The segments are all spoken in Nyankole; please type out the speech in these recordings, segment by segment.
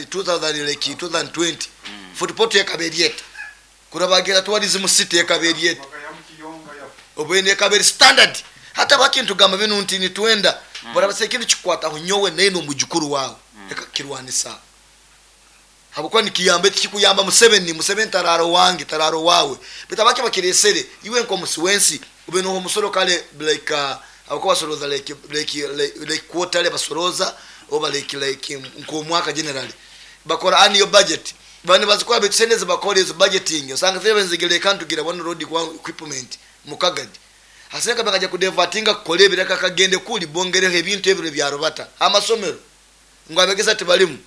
2000 like 2020 Fort Portal ekaba eri eta? Kuraba Tourism City ekaba eri eta? Obwene ekaba eri standard. Hati abaki nitugamba binu nti nitwenda barabasa ekintu kikukwataho nyowe naine omujukuru wawe leka kukirwanisa. Habwokuba nikiyamba tikikuyamba Museveni, Museveni tararo wange, tararo wawe. Baitu abaki bakiresere iwe nkomusi wensi ube noho omusoro kale like habwokuba basoroza like quarterly basoroza oba like nkomwaka generally. Bakora annual budget. Bani bazikora baitu sente zibakora ezo budgeting. Osanga zebe nzigere kantugira one road equipment mukagadi. Hasenga bakaja kudevatinga kukora ebireka kagende kuli bongereho ebintu ebiro bya rubata. Amasomero ngo abegesa tibalimu.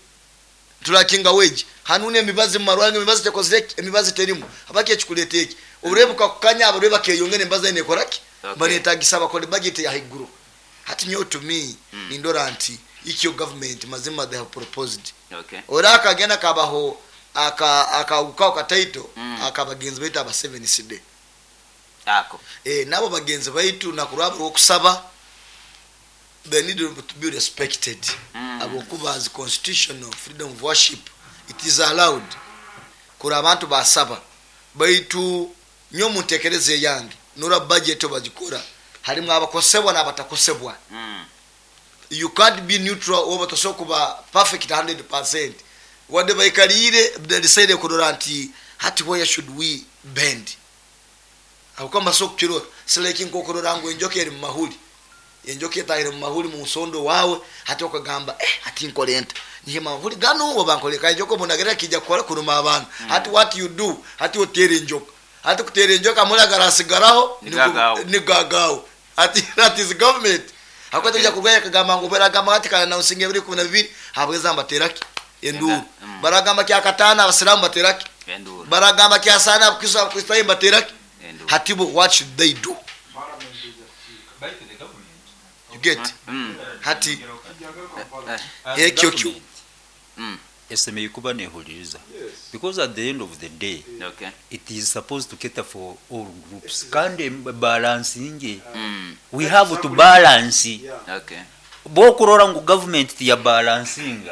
Tulakinga wage. Hanune emibazi mu marwange emibazi tekozire emibazi terimu. Abaki ekikuleta eki. Oburebuka kukanya abareba keyongene emibazi ene ekoraki. Banetagisa bakore budget ya higuru. Hati nyo to me nindora nti ikyo government mazima they have proposed. Ora akagenda kabaho akauka kataito akabagenzi baitu aba 7 CD. Ako. Nabo bagenzi baitu nakuraba okusaba they need to be respected. Abokuba as constitutional freedom of worship it is allowed. Kura abantu basaba baitu nyo muntekereze yange nora budget obagikora harimu abakosebwa n'abatakosebwa. You can't be neutral oba tosobola kuba perfect 100%. Wadde baikalire they decide kurora nti hati where should we bend. Aho maso kukirora sileki nkokurora ngo enjoka eri mu mahuli. Enjoka etahire mu mahuli mu nsondo wawe hati okagamba hati nkolenta. Nihe mahuli gano oba nkoleka enjoka obonagera kijja kukola kuruma abantu. Hati what you do hati otere enjoka. Hati kutere enjoka mulagara asigaraho ni gagawo. Hati that is government. Hakwata kujja kurwanya kagamba ngo beragamba hati kana na usinge biri 12 habweza mbateraki enduru. Baragamba kya katana abasilamu bateraki enduru. Baragamba kya sana abakristo abakristo bateraki enduru. Hatibo what should they do? You get? Hati ekyo kyo. Esemeye kuba nehuliriza. Because at the end of the day, it is supposed to cater for all groups. Kandi balancing. We have to balance. Bokurora ngu government ya balancing,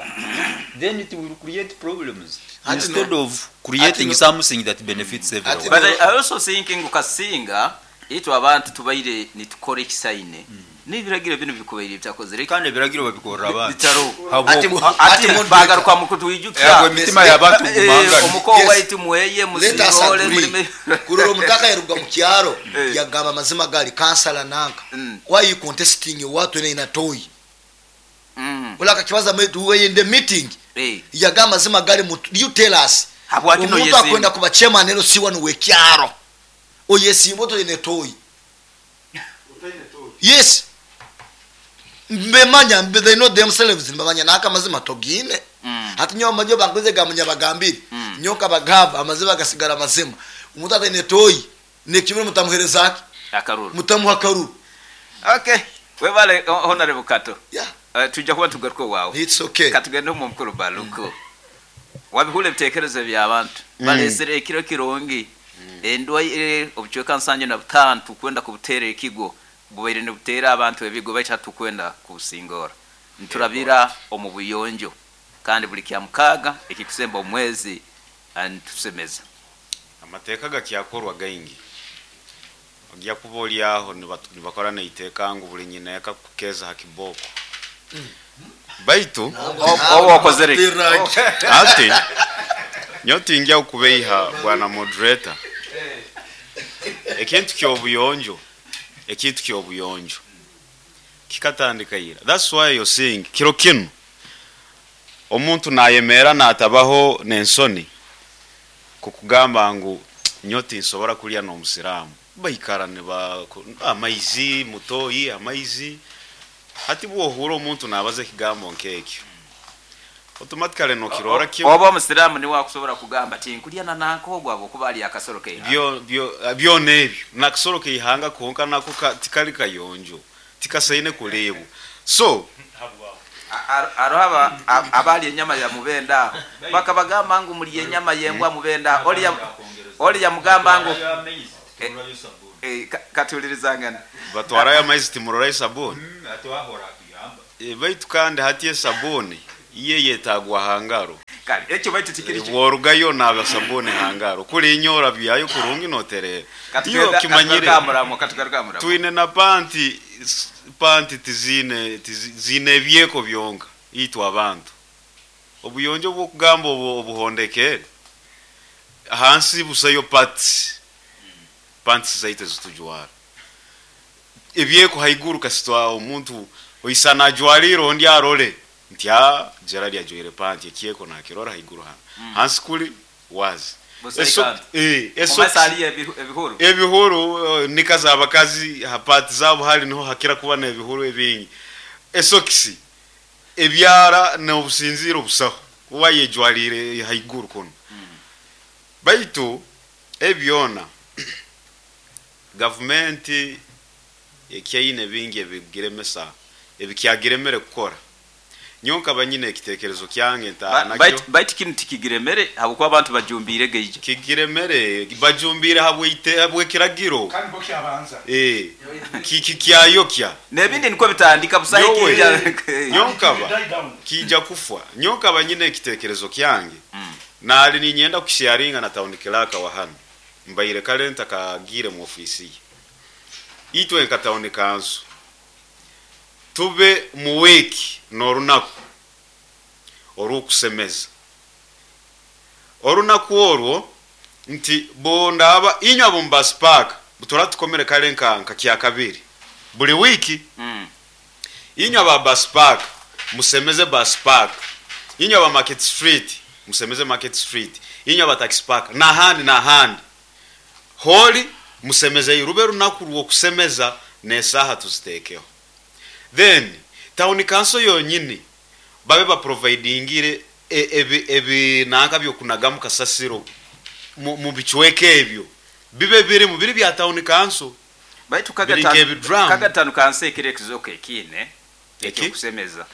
then it will create problems instead of creating something that benefits everyone. But I also think ngu kasinga itwe abantu tubaire nitukora ekisaine. N'ebiragiro bino bikubaire bitakozere. Kandi ebiragiro babikorera abantu. Bitaro. Ati bagaruka mu kutwijuka. Yagwe emitima y'abantu gumangana. Omuko waitu mweye musirole mulime. Kurora omutaka yaruga mu kyaro yagamba amazima gali kansala nanka. Why you contesting watu ene inatoyi? Ula kakibaza we in the meeting. Yagamba amazima gali you tell us. Omuntu akwenda kuba chairman ero siwa nuwe kyaro. Oyesimbo to ene toyi. Yes. Mbemanya they know themselves mbamanya naka amazima togine. Hati nyo manyo banguze gamunya bagambire. Nyoka bagamba amazima gasigara amazima. Omuntu atene toyi nekimwe mutamuhereza akaruru. Mutamuha akaruru. Okay. Webale honorable Kato. Yeah. Tujja kuba tugaruka wawe. It's okay. Katugende mu mukuru Baluko. Wabihule bitekerezo by'abantu. Balesere ekiro kirongi. Endwaire obucweka nsanje na butanu tukwenda kubutere ekigo. Bubaire nibutera abantu ebigo bacha tukwenda kusingora. Nturabira omu buyonjo kandi buli kya mukaga ekikusemba omwezi antusemeza. Amateeka gakyakorwa gaingi. Ogya kuba oli aho nibakora neiteeka ngu buli nyina yakakukeza hakiboko. Baitu obo okozere. Ati nyoti ingia ukubeiha bwana moderator. Ekintu kyobuyonjo. Ekintu kyobuyonjo. Kikatandika ira. That's why you're seeing kiro kinu. Omuntu nayemera natabaho nensoni kukugamba ngu nyoti nsobora kulya n'omusiramu. Baikara ne ba amaizi mutoyi amaizi. Hati bwohura omuntu nabaza ekigambo nkekyo. Automatically no kirora kyo. Oba omusiramu ni wakusobora kugamba ati nkulya na nanko gwabo kuba ali akasoro ke. Byo byo byo nebyo. Nakasoro ke ihanga konka nako tikali kayonjo. Tikasaine kulebu. So arohaba abali enyama ya mubenda bakabagamba ngu muli enyama yembwa mubenda oli ya mugamba ngu katulirizangana batwara ya maizi timurora isabuni baitu kandi hati esabuni iye yetagwa hangaro. Kale ekyo baitu tikiri ki- Bworugayo onaaba sabuuni ha ngaro. Kuriinya orabyayo kurungi notereera. Iwe Katugaruke okimanyire. aha muramwa, katugaruke aha muramwa. Twine na panti, panti tiziine, tizi, ziine ebyeko byonka itwe abantu. Obuyonjo obw'okugamba obu obuhondekere, ahansi busayo parts, pants zaitu ezitujwara. Ebyeko haiguru kasita omuntu oisana ajwariire ondi arore nti aa Gerald ajwaire panti ekyeko nakirora haiguru hanu. Hansi kuri wazi. Busayo Eso, kantu. eh, Omu esokisi. maiso hariyo ebihuru. Ebihuru nika z'abakazi ha part zaabo hali niho hakira kuba n'ebihuru ebingi. Esokisi, ebyara n'obusinziire obusaho obu ayejwariire haiguru kunu. Baitu ebi byona gavumenti ekyaine bingi ebigiremesa, ebikyagiremere kukora. Nyowe nkaba nyine ekitekerezo kyange ntaaha nakyo. Baitu baitu kinu tikigiremere habwokuba abantu bajumbiire gaija. Kigiremere, bajumbiire habw'eite habw'ekiragiro. Kandi bo kyabanza. Ee, ki ki kyayokya. N'ebindi nikwo bitandika busaho Nyowe, ekiija. nyowe nkaba, Die down. kiija kufwa. Nyowe nkaba nyine ekitekerezo kyange, naali niinyenda kusharinga na town clerk wa hanu. Mbaire kare ntakagiire mu ofiisi ye. Itwe nka town council, tube mu wiiki n'orunaku orw'okusemeza. Orunaku orwo nti bundaaba inywe ab'omu bus park butura tukomere kare nka nka kyakabiri buri wiiki. Inywe aba bus park musemeze bus park, inywe aba market street musemeze market street, inywe aba taxi park n'ahandi n'ahandi. Holi musemeze rube runaku rw'okusemeza n'esaaha tuziteekeho. Then town council yonyini babe baprovidingire ebi ebi nanka by'okunagamu kasasiro mu mu bicweka ebyo bibe birimu biri bya town council. Baitu Biri nk'ebidrum. kagatano kansi ekiro ekizooka ekiine Eki? eky'okusemeza.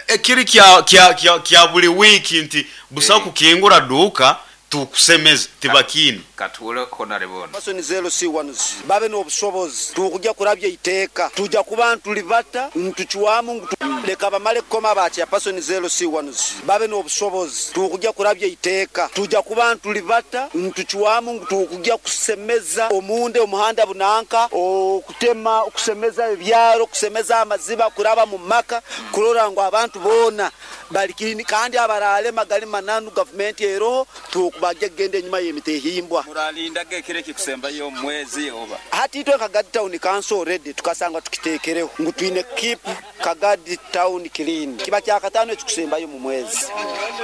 Ekiri kya kya kya kya buri wiiki nti busaho Eh. kukingura duuka tukusemeze tibakiine. Katuhure Honarebo onu. Person zero C ones babe n'obushobozi tukugya kurabya eiteeka tuja kuba nitulibata nitucwamu ngu leka bamale kukoma ba chairperson zero C ones babe n'obushobozi tukugya kurabya eiteeka tuja kuba nitulibata nitucwamu ngu tukugya kusemeza omunde omuhanda bunanka okutema okusemeza ebyaro okusemeza amaziba kuraba mu maka kurora ngu abantu boona bari clean kandi abaraalema gari mananu gavumenti eroho tukubagya kugenda enyima y'emitehimbwa. Muralindaga ekiro ekikusembayo omu mwezi oba? Hati itwe Kagadi Town Council already tukasanga tukiteekereho ngu twine keep Kagadi Town clean. Kiba kyakataano ekikusembayo omu mwezi.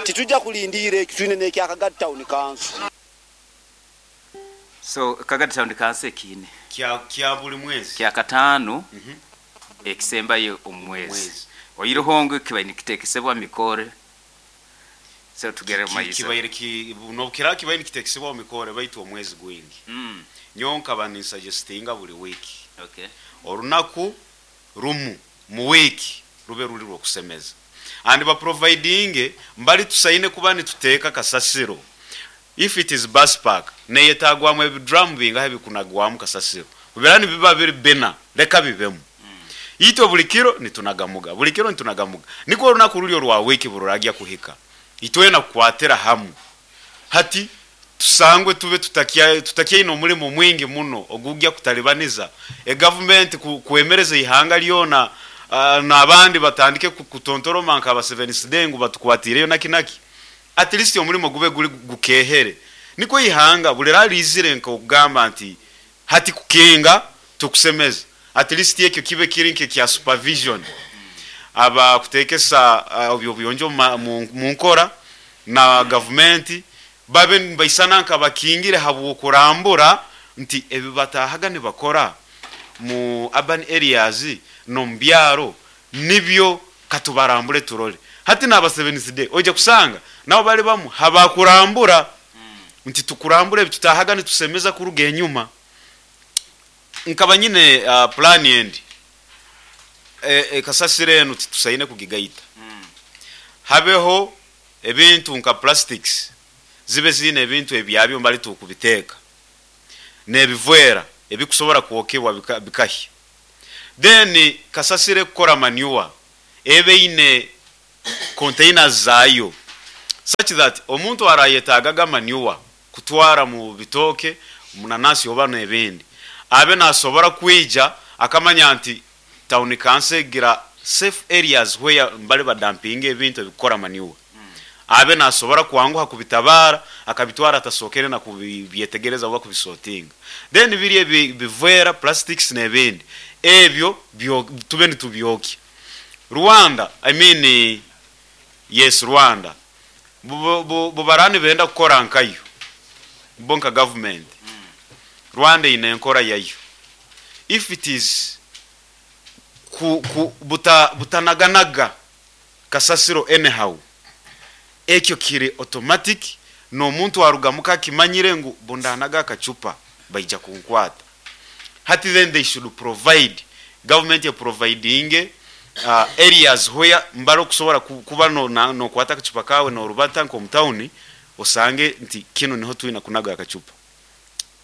Titujja kulindiira ekyo twine n'ekya Kagadi Town Council. So Kagadi Town Council ekiine. Kya kya buri mwezi. Kyakataano ekisembayo omu mwezi. Mwezi. Oihireho ngu kibaire nikitekesebwa Mikore. So tugere omu maiso. Kibaire ki n'obu kiraabe kibaire nikitekesebwa Mikore baitu omwezi gwingi. Nyowe nkaba ninsajestinga buri wiiki. Okay. Orunaku rumu mu wiiki rube ruri rw'okusemeza. And baprovidinge mbari tusaine kuba nituteeka kasasiro. If it is bus park neyetagwamu ebidrum bingahi ebikunagwamu kasasiro. Kubera nibiba biri bina leka bibemu. Itwe buri kiro nitunagamuga, buri kiro nitunagamuga. Nikwo orunaku ruri orwa wiiki bururagya kuhika. Itwena kukwatira hamu. Hati tusangwe tube tutakya tutakyaine omurimo mwingi muno ogugya kutalibaniza egavumenti kwemereza eihanga ryona n'abandi batandike kutontoroma nka Abaseveni ngu batukwatiireyo naki naki. At least omurimo gube guri gukeehere. Nikwo eihanga buri rariizire nk'okugamba nti hati kukinga tukusemeze. At least ekyo kibe kiri nk'ekya supervision. Aba kuteekesa obyo obuyonjo mu nkora na gavumenti babe nibaisana nka bakingire habw'okurambura nti ebi bataahaga nibakora mu urban areas n'omu byaro nibyo katubarambure turore. Hati n'aba Seventh Day oija kusanga nabo bari bamwe habakurambura nti tukurambure ebi tutaahaga nitusemeza kuruga enyuma. Nkaba nyine plan endi ekasasiro enu titusaine kugigaita. Habeho ebintu nka plastics zibe ziine ebintu ebyabyo mbari tukubiteeka n'ebivwera ebikusobora kwokebwa bikahya. Then kasasiro ekukora manure ebe eine containers zaayo such Such that omuntu arayetagaga manure kutwara mu bitooke, munanasi oba n'ebindi, abe nasobora kwija akamanya nti town council egira safe areas where mbali badampinga ebintu ebikukora manure. Abe nasobora kwanguha kubitabara akabitwara atasookere na kubyetegereza oba kubisortinga. Then biri ebi bivera, plastics n'ebindi, ebyo tube nitubyokya. Rwanda, I mean yes Rwanda, bu baraba nibenda kukora nkayo, bo nka government, Rwanda eine enkora yayo. If it is ku butanaganaga kasasiro anyhow, ekyo kiri automatic, n'omuntu arugamuka akimanyire ngu bundanaga akacupa baija kunkwata. Hati then they should provide, government providing areas where mbara okusobora kuba nokwata akacupa kawe norubata nk'omu town, osange nti kinu niho twina kunaga akacupa.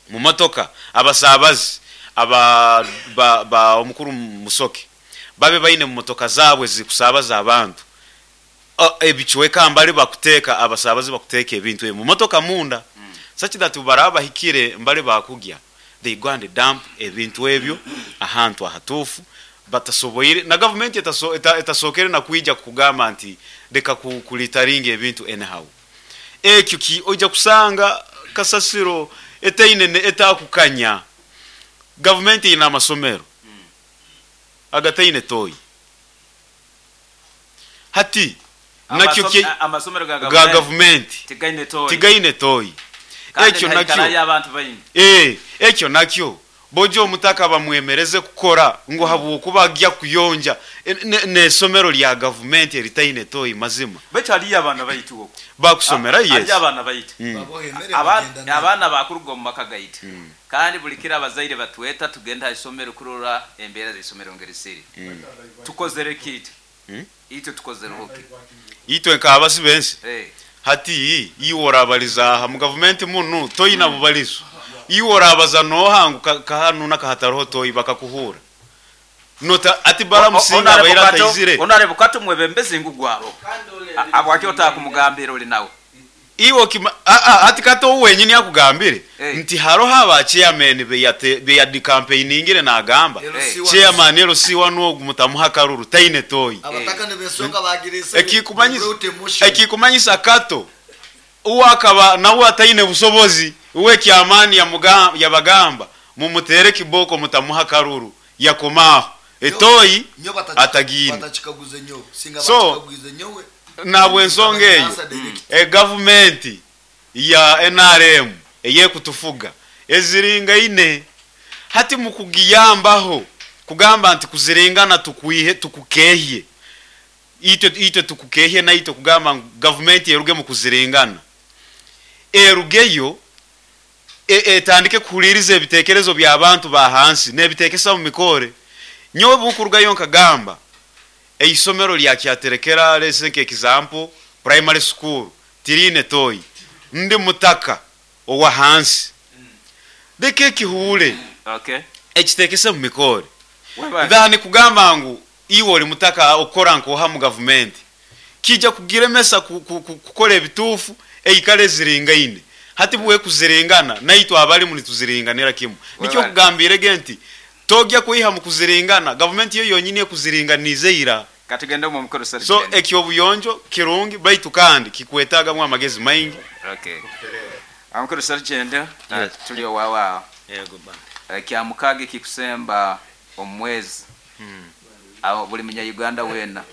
Mu motoka abasabazi aba ba omukuru Musoke babe baine mu motoka zaabwe zikusabaza abantu ebicweka mbali bakuteka, abasabazi bakuteka ebintu ebyo mu motoka munda, such that baraba bahikire mbali bakugya, they go and dump ebintu ebyo ahantu ahatuufu, batasoboire na gavumenti etasokere na kwija kugamba nti leka kulitaringa ebintu anyhow. Ekyo ki ojja kusanga kasasiro etaine etakukanya. Gavumenti ina amasomero agataine toyi hati nakyo Amasomero ga ga gavumenti tigaine toyi. Tigaine toyi. Kandi Ekyo nihaikarayo nakyo abantu baingi. Ekyo nakyo bojo omutaka bamwemereze kukora ngu habwokuba ajja kuyonja n'esomero lya gavumenti eritaine toyi mazima. Baitu haliyo abaana baitu okwo. Bakusomera, yes. Haliyo abaana baitu. Babohemere bagenda nayo. Abaana bakuruga omu maka gaitu, kandi buli kiro abazaire batweta tugenda ha isomero kurora embeera z'isomero ngeri ziri. Tukozere kitu? Itwe tukozereho ki? Itwe nk'abasi bensi hati iwe orabaliza aha mu gavumenti munu toyina bubalizo, iwe orabaza noha ngu kahanu nakahatariho toyi bakakuhura nota ati baramusinga abaira ataizire. Onareba kato mwebembezi ngu gwaro abwaki otakumugambira oli nawe? Iwe kima ati kato wenyini akugambire nti haroho aba chairman beyadi campaigningire nagamba chairman LC1 ogu mutamuha karuru taine toyi. Abataka nibesonga bagirese. Ekikumanyisa kato uwakaba nawe ataine busobozi, uwe kyamani yabagamba mumutere kiboko mutamuha karuru, yakomaho etoyi Nyo atagine. Batachikaguze nyo singa So, batachikaguze nyowe. Nabwo ensonga eyo Answer direct. Gavumenti ya NRM eyekutufuga eziringaine hati mukugiyambaho kugamba nti kuziringana tukwihe tukukehye itwe tukukehye na itwe kugamba ngu gavumenti eruge mu kuziringana, erugeyo etandike kuhuliriza ebitekerezo by'abantu ba hansi n'ebitekesa mu mikore. Nyowe bukurugayo nkagamba eisomero lya Kyaterekera, let's take example, primary school tirine toyi, ndi mutaka owa hansi, leka ekihuule ekitekese mu mikore. Webale. Thani kugamba ngu iwe oli mutaka okukora nkoha mu gavumenti kijja kugiremesa kukola ebituufu eikale ziringaine. Hati bwe kuziringana naitwe abalimu nituziringanira kimu, nikyo Webale. kugambirege nti tojja kwiha mu kuziringana, gavumenti yo yonyini ekuziringanize ira. Katugende mu mukoro. So Sergeant. ekyobuyonjo kirungi, baitu kandi kikwetagamu amagezi maingi. Okay, amukoro Sergeant, tuli owawa. Yego ba. Kya mukaaga ekikusemba omwezi, aho buli munya-Uganda weena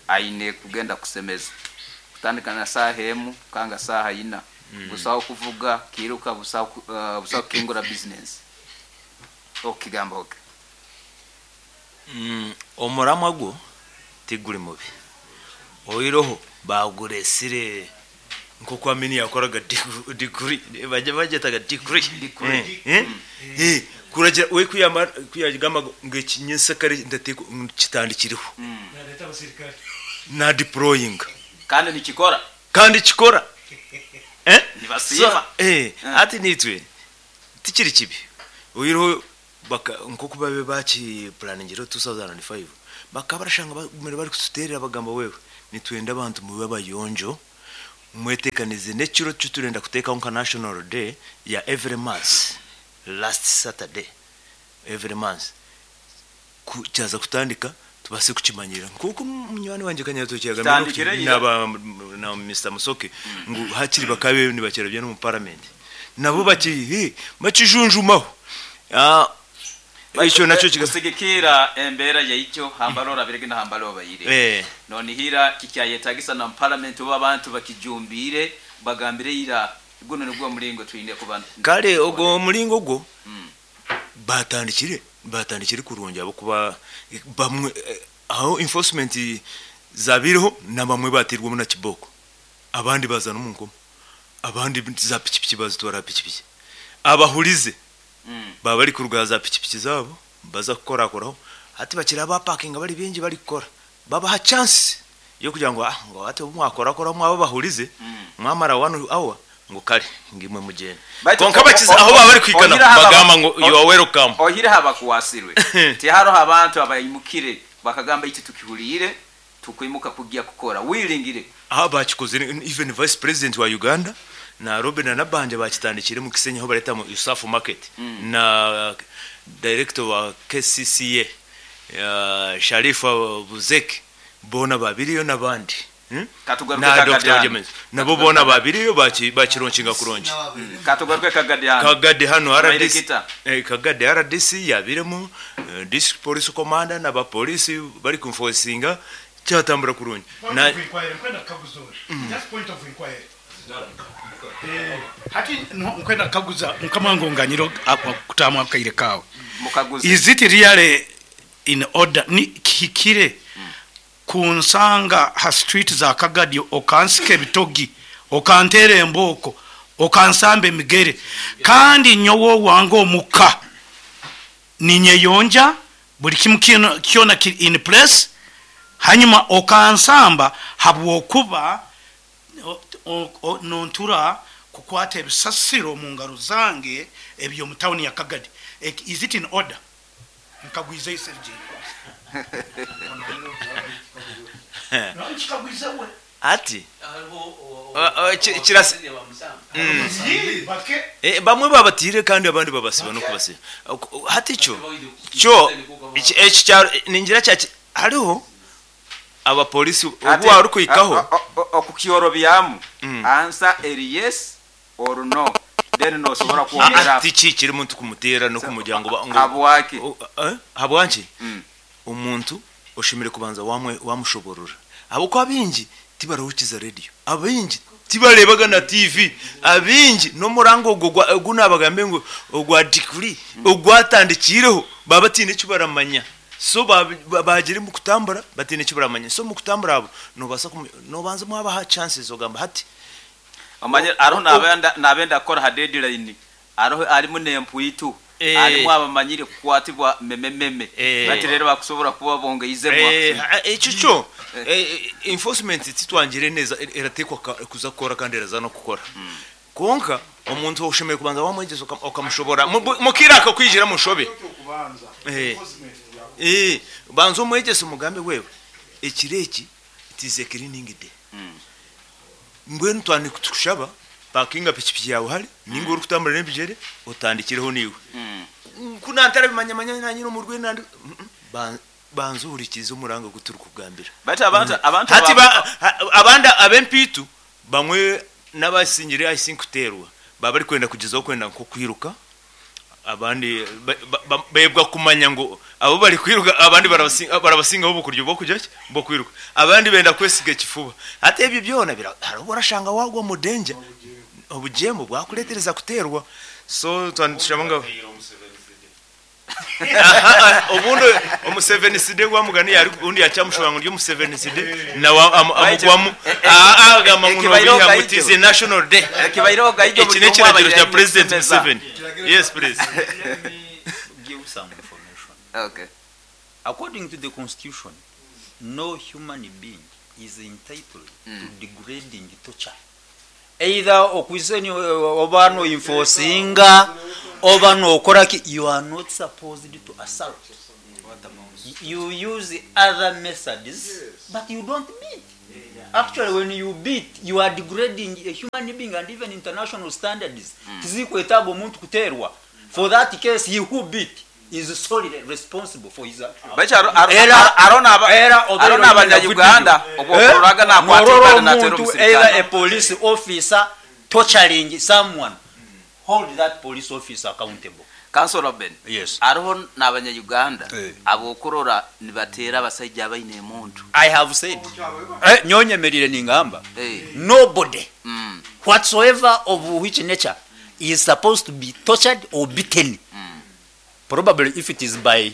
aine kugenda kusemeza kutandika na saaha emu kanga saaha ina. Busaho kuvuga kiruka, busaho busaho kukingura business, okukigamba oke. Omuramwa gwo tiguri mubi, oiroho baguresire nkoku Amini yakoraga degree, bajya bagetaga degree. Kuragira we kuyama kuyagamba ngo ekinyensakare ndateko kitandikiriho na deploying. Kandi nikikora. Kandi kikora. Nibasiima. So, ati nitwe tikiri kibi, oiroho baka nkoku babe bakiplaningire 2005, bakaba barashanga bagumire bari kututerera bagamba, wewe nitwenda abantu mube abayonjo. Mwetekanize n'ekiro kiturenda kuteekaho nka national day ya every month, last Saturday every month, ku kyaza kutandika tubaase kukimanyirira nk'oku munywani wangye Kanyaritookye yagambire Kitandikire ira. naba na Mister Musoke ngu hakiri bakabe nibakirabya n'omu paramenti nabo baki hi, bakijunjumaho. Ah, ekyo nakyo kika Kusigikira embeera yaikyo hambara orabirege na hambara obaire. Nonihira kikyayetagisa na mu parliament obu abantu bakijumbiire bagambire ira gunu nigwo omuringo twine kuba Kare ogwo omuringo ogwo batandikire batandikire kurungi ahabw'okuba bamwe aho enforcement zabaireho nabamwe bateirwemu na kibooko abandi baza n'omu nkomo abandi za pikipiki bazitwara aha pikipiki abahurize baba bari kuruga aha za pikipiki zaabo baza kukorakoraho hati bakira bapakinga bari baingi barikukora babaha chance y'okugira ngu ah ngu hati obu mwakorakoraho mwaba abahurize mwamara one hour ngu kare ngu imwe mugyende. Baitu Kwonka bakiza aho baba bari kuhika oihireho aba- bagamba ngu you are welcome. Oihireho abakwasirwe, tihariho abantu abaimukire bakagamba itwe tukihuriire tukwimuka kugya kukora willingly. Aha bakikozire even vice president wa Uganda na Robinah Nabbanja bakitandikire omu Kisenyi ahu bareta ngu Usafu market na director wa KCCA Sharifa Buzeki boona babiriyo nabandi Katugaruke na Kagadi Dokita hanu. Oryemezi nabo boona babiriyo bakironkinga kurungi. Katugaruke Kagadi hanu. Kagadi hanu Tubaire RDC kita. Kagadi RDC yabiremu district police commander na ba police bari ku enforcinga kyatambura kurungi. Point Na of inquiry, nkwenda kukaguza ori. Just point of inquiry. Eh, hati no- nkwenda kukaguza mukama wange onganyire kutamu akaire kawe. Mukaguze. Is it really in order ni kihikire kunsanga ha street za Kagadi okansika ebitogi okanteera embooko okansamba emigere kandi nyowe owange omuka ninyeyonja buri kimu kyona kiri in place hanyuma okansamba habwokuba nontura kukwata ebisasiro omu ngaro zange ebyomu tawuni ya Kagadi. Is it in order? Nkagwizeyo Sergei. Nkikagwize we. Ati kirasi bamwe babatiire kandi abandi babasiba n'okubasiba. Hati kyo kyo eki ningira kya hariho abapolisi obu warikuhikaho. Okukyorobyamu answer eri yes or no then nosobora kwongera. Tikikiri muntu kumuteera n'okumugira ngu Habwaki? Habwanki? Omuntu oshemereire kubanza wamushoborora ahabw'okuba abaingi tibarahukiza rediyo, abaingi tibareebaga na tiivi, abaingi n'omuranga ogwo ogu naabagambiire ngu ogwa diguri ogwatandikiireho baaba bataine eki baramanya. So baagira omu kutambura bataine eki baramanya. So omu kutambura abo noobaasa noobanza mwabaha chances ogamba hati. Omanyire hariho naabenda kukora ha deadline Hariho harimu n'empwitu, harimu abamanyire kukwatibwa memememe, bati rero bakusobora kuba bongeizemu akasente. Ekyo kyo enforcement titwangire neza erateekwa kuza kukora kandi eraza n'okukora. Kwonka omuntu oshemereire kubanza wamwegyesa okamushobora mukaire akakwigira omu nshobe. Banza omwegyese omugambe wewe ekiro eki it is a cleaning day. Mbwenu twaba nitukushaba pakinga pikipiki yaawe hare ninga orikutambura n'ebigyere otandikireho naiwe. Ku naantarabimanya manya naanye omu rwendo nandi banza ohurikiize omuranga ogu turikukugambira. Baitu abantu abantu Hati aba abandi ab'empiitu bamwe n'abasingire I think kuteerwa baba barikwenda kugyezaho kwenda nk'okwiruka Abandi beebwa kumanya ngu abu barikwiruka abandi barabasingaho obukuryo bw'okugira ki? Bw'okwiruka. Abandi benda kwesiga ekifuba. Hati ebyo byona hariho obu orashanga waagwa omu danger, obujeemu bwakureetereza kuteerwa. So twaba nitushaba ngu obundi omuseveniside gwamugani obundi yakyamushobora ngu ndi omuseveniside nawe amugwamu agamba ngu nobiiha ngu it is a national day. Eki n'ekiragiro kya President Museveni. Yes please. Let me give some information. Okay. According to the constitution, no human being is entitled to degrading torture. Either okwise oba no enforcinga oba nokora ki, you are not supposed to assault. You use other methods but you don't beat. Actually, when you beat, you are degrading a human being and even international standards. Tizikwetaaga omuntu kuteerwa. For that case, he who beat is solely responsible for his action. Baitu Era- era aro n'abanyayuganda obwokuroraga nakwata Norora ibale natera omuntu, either a omusirikale. police officer torturing someone, hold that police officer accountable. Councilor Ben. Yes. Ariho n'abanyayuganda Eh. abokurora nibatera abasaija abaine emuntu. I have said, nyonyemerire ningamba, Eh. nobody whatsoever of which nature is supposed to be tortured or beaten. Probably if it is by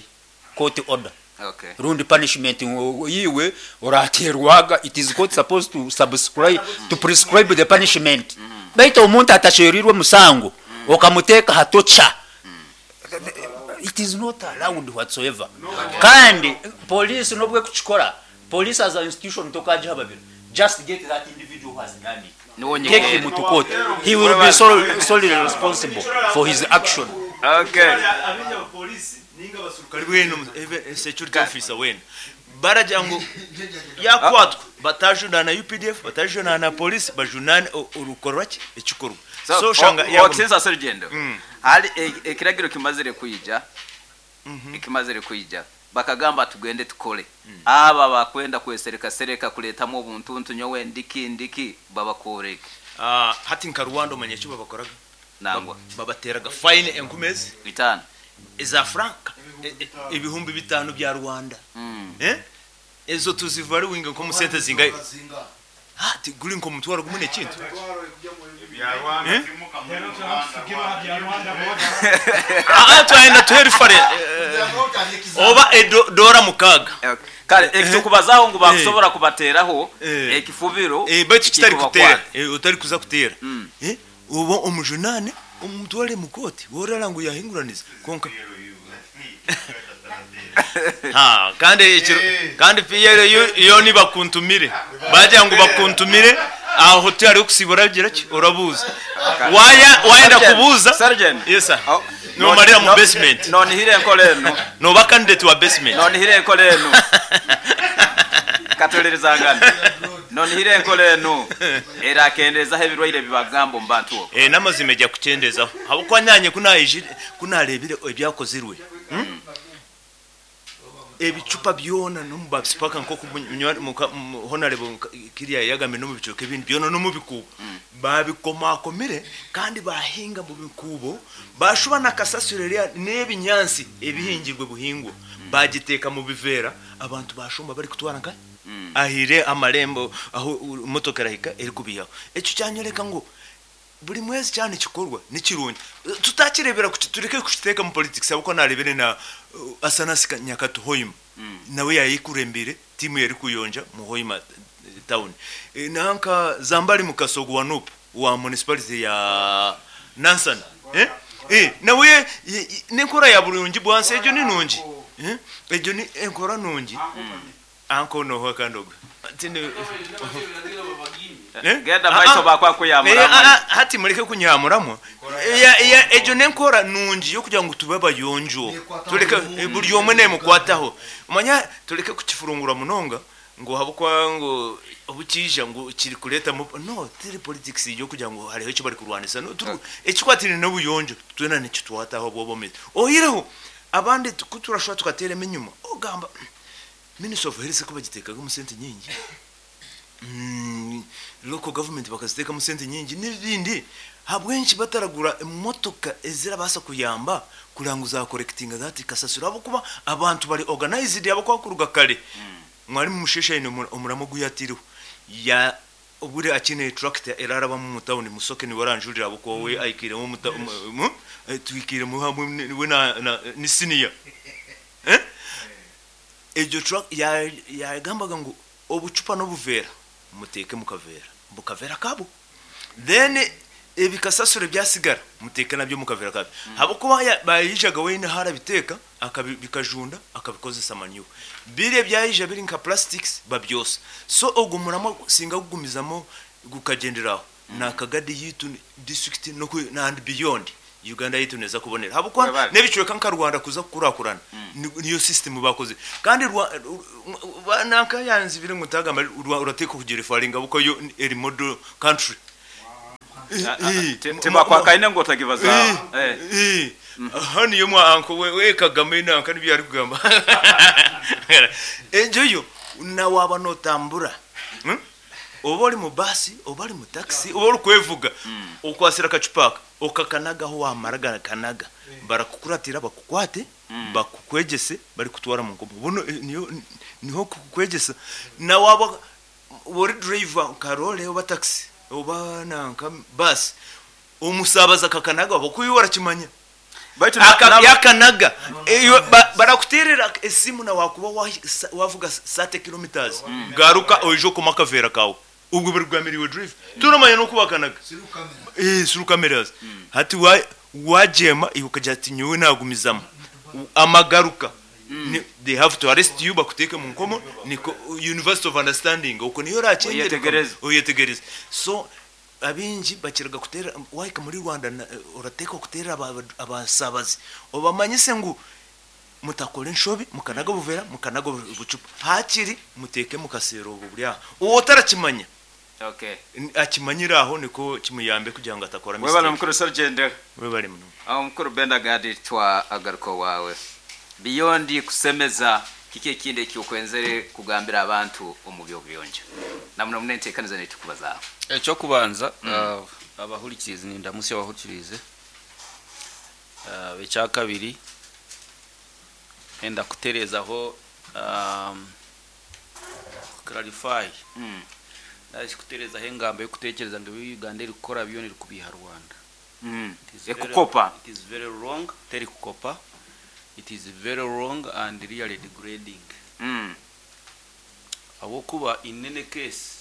court order. Okay. Rundi punishment yiwe oraterwaga, it is court supposed to subscribe to prescribe the punishment. Baitu omuntu atasherirwe musango okamuteka hatocha, it is not allowed whatsoever. Kandi police nobwe kukikora, police as an institution tokagiha babiri, just get that individual who has done it, Niwo take him nyine. to court, he will be solely responsible for his action. Okay. Abinja abapolisi ninga abasirikare bwene even security officer wene baragira ngo yakwatwa batajunana UPDF, batajunana na polisi, bajunane urukorwa ki ekikorwa. So, shanga otinza serugendo. Hali ekiragiro kimazire kwija. Ekimazire kwija. Bakagamba tugende tukole. Aba bakwenda kwesereka sereka kuletamu obuntuntu nyowe ndiki ndiki babakoreke. Ah, hati nka Rwanda omanye eki babakoraga? Nangwa. Babateraga fine enkumezi 5. Eza franka 5000 bya Rwanda. Eh, ezo tuziva ari winga nko musente zingaye hati guri nko mutwaro gumune ekintu. Eh? Ah, twayenda tuherifare oba dora 6. Okay. Kale ekitukubazaho ngu bakusobora kubateraho Eh. ekifubiro Eh, baitu kitari kutera kikubakwata. Utari kuza kutera. Uba omujunane omutware mu koti worara ngu yahinguraniza konka ha kandi ekiro kandi piyere iyo nibakuntumire bagira ngo bakuntumire aho turi kusibura gira ki urabuza waya wayenda Sergeant, kubuza. Sergeant. Yes sir. Oh, Nomarira mu basement. Nonihire enkola eno. Noba candidate wa basement. Nonihire enkola eno. Katulirizangana. Nonihire enkola eno. Erakendezaho ebirwaire bibagamba omu bantu okwo. N'amazima ejja kukendezaho habwokuba nanye kunayijire kunarebire ebyakozirwe. Ebicupa byona no mu babisipaka nko honorable kiriya yagambe no mu bicupa ebindi byona no mu bikubo babikomakomire kandi bahinga mu bikubo bashuba nakasasiro rya n'ebinyansi ebihingirwe buhingwa bagiteka mu bivera abantu bashomba bari kutwara nka ahire amarembo aho motoka erahika eri kubihaho. Ekyo kyanyoleka ngu buri mwezi cyane kikorwa nikirungi tutakirebera tureke kukiteeka mu politics abuko narebere na Asanasi Nyakato Hoima nawe yayikurembere timu yari kuyonja mu Hoima town. Nanka Zambali Mukasogo wa Nup wa municipality ya Nansana, nawe nenkora ya burungi bwanse ejo ni nungi, ejo ni enkora nungi anko noho kandogo tine. Eh? Genda maiso bakwa kuyamura. Hati mureke kunyamuramo. Ejo nenkora nungi yo kugira ngo tube abayonjo tureke buri omwe nemukwataho manya tureke kukifurungura munonga ngo habukwa ngo obukija ngo kiri kuleta no tiri politics yo kugira ngo hariho icyo bari kurwanisa no ekikwatire n'obuyonjo twena nikitwataho bwobomeze ohireho abandi kuturashwa tukaterema inyuma ogamba Minister of Health ko bagitekaga mu sente nyingi, local government bakaziteka mu sente nyingi n'ibindi habwenshi bataragura emotoka ezirabasa kuyamba kuranguza collecting that kasasiro abo kuba abantu bari organized abo kwakuruga kare mwari mushesha ino omuramo guyatiriho ya obure akine tractor eraraba mu town musoke ni waranjurira abo ko we aikire mu twikire mu hamwe we na ni senior ejo truck yagambaga ngo obucupa n'obuvera muteke mukavera mukavera kabo then ebikasasure byasigara muteke nabyo mukavera kabo habokuba bayijaga wene harabiteka akabikajunda akabikozesa manure bire byayija biri nka plastics babyosa so ogumuramo singa kugumizamo gukagenderaho nakagadi yitu district no and beyond. Uganda yaitu neza kubonera habwokuba Webale. n'ebicweka nka Rwanda kuza kukurakurana niyo system bakoze kandi nanka yanzibire ngu ntagamba urateeka kugira efaringa buko yo eri model country. Tebakwakaine ngu otagibaza. Aha niyo mwa anko we Kagame nanka nibyo ari kugamba enjoyo na waba notambura, Oba ori mu basi, oba ori mu taxi, oba ori kwevuga, okwasira akacupa aka okakanagaho, wamara gakanaga barakukuratira bakukwate, bakukwegese bari kutwara mu nkomo buno, niyo niho kukwegesa. Na waba ori driver nka role oba taxi oba nanka basi, omusabaza kakanaga bakuyi warakimanya. Baitu Yakanaga barakuterera esimu na wakuba wavuga 30 kilometers, garuka oije okoma akavera kawe, ubwo bari kugamira drive turamanya no kubakanaga suru cameras. Hati wajema iwe ukagira ati nyowe nagumizamu amagaruka. They have to arrest you, bakuteke mu nkomo. Niko University of Understanding uko niyo rakengera. Oyetegereze. Oyetegereze. So abingi bakiraga kutera wahika muri Rwanda urateka kutera abasabazi obamanyise ngu mutakora enshobi, mukanaga buvera, mukanaga bucupa, hakiri muteke mukasero ubu buri aho uwo utarakimanya. Akimanyira aho niko kimuyambe kugira ngo atakora Webale mistake. Mukuru Sergeant. Webale muno. Aho mukuru Benda Gadi, twa agaruko wawe beyond kusemeza, kiki ekindi ekyokwenzere kugambira abantu omu byobuyonjo namuno munenteekaniza netukubazaho? Ekyokubanza, abahurikirize, nindamusya abahurikirize. Ekyakabiri, enda kuterezaho, clarify, nari kuterezaho engambo yokutekereza ngu ebi Uganda eri kukora byona eri kubiha Rwanda. It is Ekukopa. It is very wrong. Teri kukopa. It is very wrong and really degrading, ahabwokuba in any case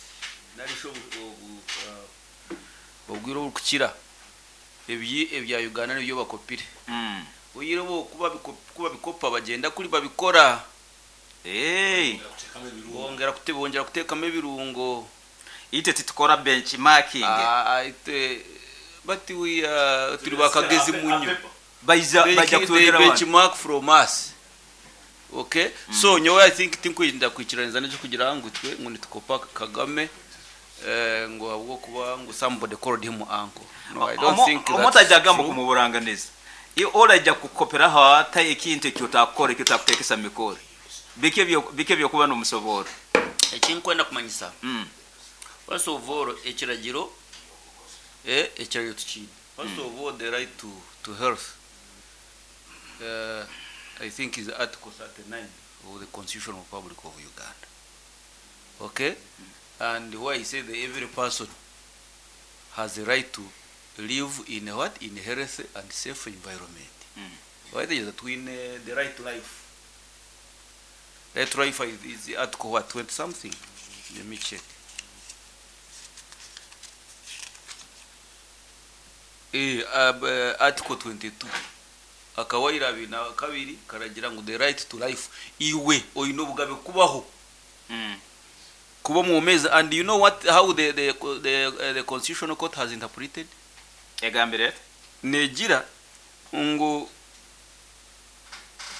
narisho obwire oburikukira ebyi ebya Uganda nibyo bakopire. Oyire bo kuba kuba bikopa bagenda kuri babikora bongera kutekamo ebirungo. Ite titukora benchmarking. Ah, ite but we turi bakagezi munyo. Baija baija They kutwegera abantu. benchmark from us, okay? So nyowe I think tinkwinda kwikiraniza n'ekyo kugira ngu twe ngu nitukopa Kagame, ngo ahubwo kuba ngu somebody called him uncle. No, I don't think that's Omuntu ajja agamba true. kumuburanganiza iwe orajja kukoperaho ata ekintu ekyotakukora ekyotakutekesa mikoro bike byokuba n'omusoboro. Ekinkwenda kumanyisa, first of all, ekiragiro tukiine. First of all, the right to health, I think is Article 39 of the Constitution of Republic of Uganda, okay? And why I say that every person has a right to live in a what, in a healthy and safe environment. Why there is twine the right to life. Right to life is article what, 20 something, let me check. Article 22 akawaira 22 karagira ngo the right to life, iwe oyina obugabe kubaho, kuba mu mezi. And you know what, how the Constitutional Court has interpreted? Egambire. Negira ngo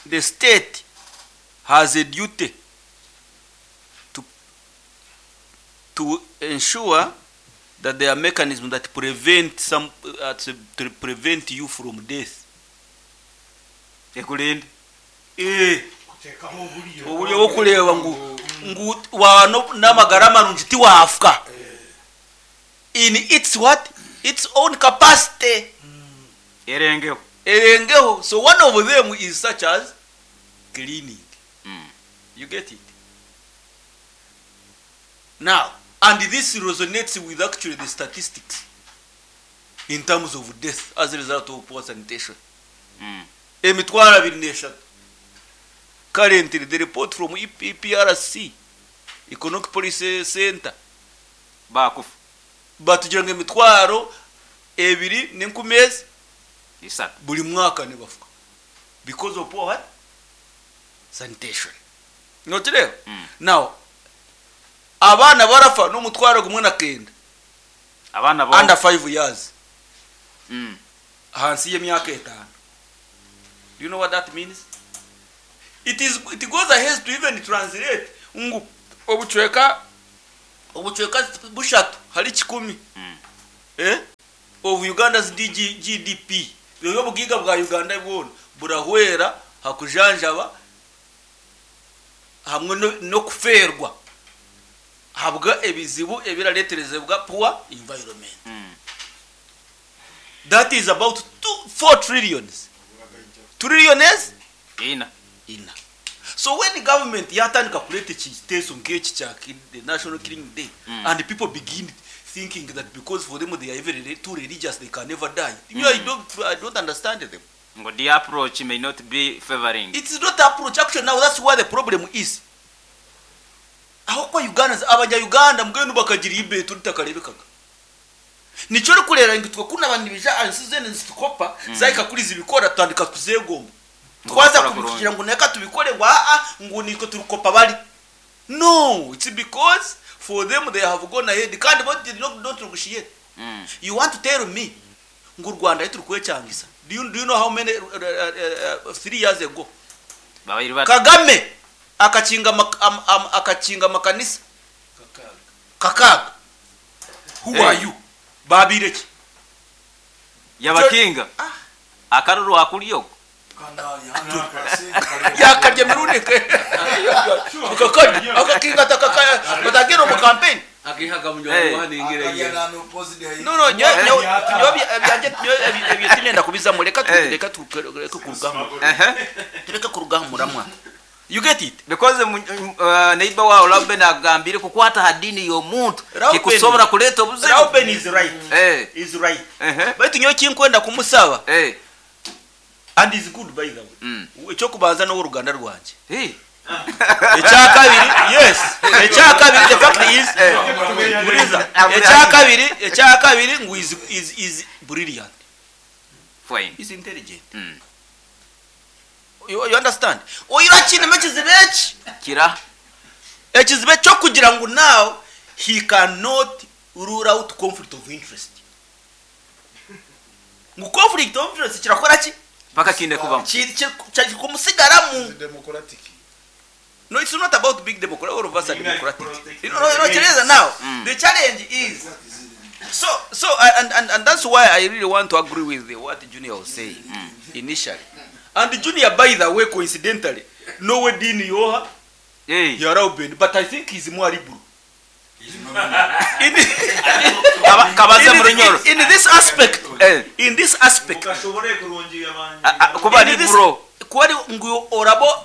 the state has a duty to ensure that there are mechanisms that prevent some to prevent you from death. Ekulinde. Oburyo bwokureba ngu waba n'amagara marungi tiwafuka in its what, its own capacity. Erengeho. Erengeho. So one of them is such as cleaning. You get it now? And this resonates with actually the statistics in terms of death as a result of poor sanitation. 23,000 currently, the report from EPRC, Economic Policy Center. Bakufa. Batugira ngo 23,000 3 buri mwaka nibafuka because of poor what, sanitation. Nokireba now abaana barafa n'omutwaro gumwe na kenda. Abaana bo Under 5 years. Ahansi y'emyaka etaano. Do you know what that means? It is it goes ahead to even translate ngu obucweka obucweka bushatu hari kikumi eh, of Uganda's DG, GDP byoyo obugaiga bwa Uganda bwona burahwera ha kujanjaba hamwe n'okufeerwa ahabwa ebizibu ebirareeterezebwa poor environment. That is about two, 4 trillions. Trillions Ina. Ina. So when government yatandika kureeta ekiteeso nk'eki kya the National Killing Day mm. and people begin thinking that because for them they are even too religious they can never die. Mm. You, I don't understand them. Ngo the approach may not be favoring. It's not approach actually now that's where the problem is. Aho kwa Ugandans abanya Uganda mbwenu bakagira ibetu ritakarebekaga. Nikyo orikureeba ngu itwe kunu abantu nibaija aha nsi zeena nizitukopa zahika kuri zibikora tutandika kuzegomba. Twaza Bakora kugira ngu reka tubikore ngu aa ngu nitwe turikukopa bari. No, it's because for them they have gone ahead kandi bo they don't negotiate. You want to tell me ngu Rwanda ahi turikwekyangisa do you, do you know how many 3 years ago Babaire bata? Kagame akakinga akakinga amakanisa kakaaga. Who are you? Babaire ki? Yabakinga akaruru akurya oku. Yakarya emirundi kakarya akakinga batagenda omu campaign. No no nyowe nyowe ebyangye nyowe ebyo tinenda kubizamu reka reka tureke kuruga aha tureke kuruga aha muramwa. You get it? Because neighbor wawe Reuben akugambire kukwata ha dini y'omuntu kikusobora kuleeta obuzibu. Reuben is right. Is right. Baitu nyowe ekinkwenda kumusaba and is good by the way. Ekyokubanza n'oworuganda rwangye. Ekyakabiri yes. Ekyakabiri the fact is buriza. Ekyakabiri ekyakabiri ngu is is is brilliant. Fine. Is intelligent. You, you understand? Oira kinemu ekizibu eki. Kira. Ekizibu ekyokugira ngu now he cannot rule out conflict of interest. Ngu conflict of interest kirakora ki? Paka kinde kubamu. Kumusigaramu. No, it's not about being democratic. All of us are democratic. You know, no, Teresa, now, the challenge is, so, so, and, and, and that's why I really want to agree with what Junior was saying initially. And Junior, by the way, coincidentally, no way Dean Yoha, hey. Yarauben, but I think he's more liberal. Kabaze Murunyoro. In this aspect, in this aspect, Kuba liberal. Kuba ngu orabo,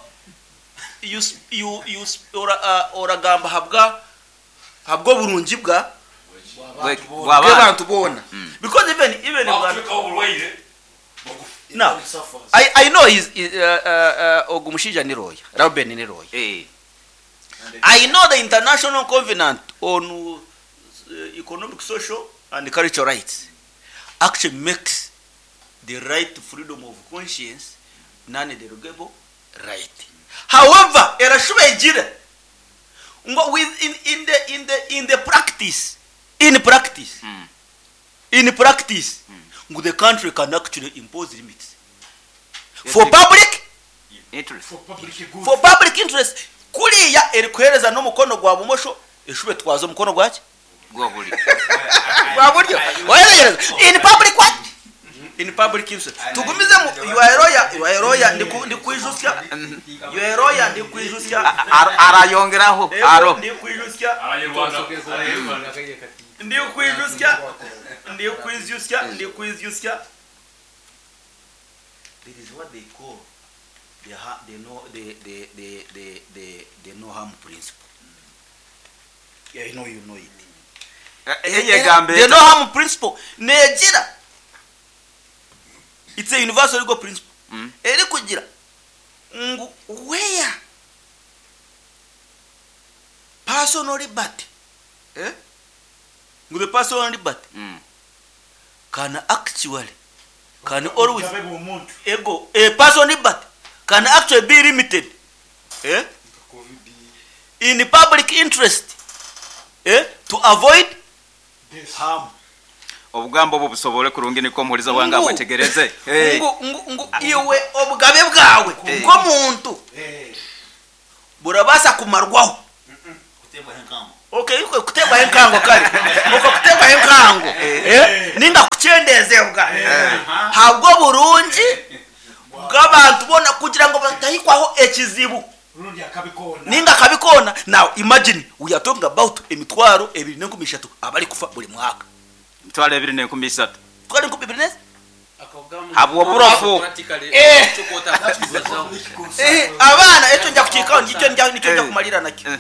you, you, you, ora, oragamba habwa, habwa burungi bwa, bw'abantu boona. Because even, even now, I know he's, ogu mushaija ni lawyer, Reuben ni lawyer. I know the International Covenant on Economic, Social and Cultural Rights actually makes the right to freedom of conscience non-derogable right. However, erashuba egira ngo with in, in the, in the, in the practice, in practice, in practice, ngo the country can actually impose limits for public interest, for public good, for public interest. Kuriya erikuhereza n'omukono gwa bumosho eshube twaza omukono gwaki gwa buryo gwa buryo oyeregereza in public what in public interest. Tugumize mu you are lawyer, you are lawyer, ndikwijusya you are lawyer, ndikwijusya arayongeraho aro ndikwijusya ndikwijusya ndikwijusya ndikwijusya. There is what they call the the no the the the the the the no harm principle. Yeah, you know, you know it. The no harm principle negira it's a universal legal principle. Eri kugira ngu where personal liberty, ngu the personal liberty can actually can always ego a personal liberty can actually be limited in public interest to avoid harm. Obugambo obu busobore kurungi nikwo omuhuriza wange Ngu- abwetegereze. Eh. ngu ngu ngu iwe obugabe bwawe nk'omuntu burabaasa kumarwaho Okay, kuteebwaho enkango kare okwo kuteebwaho enkango eh, ninga kukyendezebwa habw'oburungi bw'abantu boona kugira ngu batahikwaho ekizibu ninga akabi koona. Now imagine we are talking about 23,000 abarikufa buri mwaka. 23,000. 23,000 Habw'oburofu. Eh. Eh, abaana ekyo nja kukiikaho nikyo nja nikyo nja kumalira nakyo.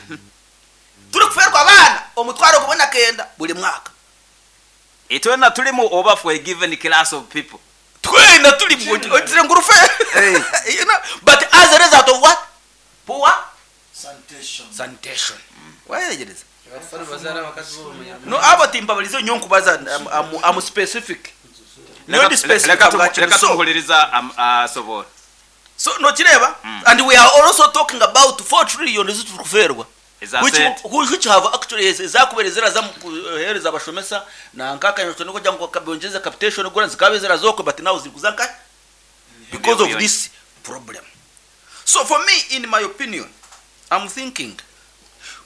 Turi kuferwa abaana 19,000 buri mwaka. Itwena tulimu oba for a given class of people? Twena tulimu ogire ngu rufe. You know, but as a result of what? Poor Sanitation. Sanitation. Wayegereza. No, abo timbabalize nyo nkubaza I'm specific. No, ndi specific. Leka So, tumuhuliriza asobora. So nokireba and we are also talking about 4 trillion ezitukuferwa Eza which, sente. which have actually ezakubere ziraza mu kuhereza abashomesa na nkakanya niko jangu kabonjeza capitation gora zikabe zirazoko, but now ziri kuzanka because of this problem. So for me, in my opinion, I'm thinking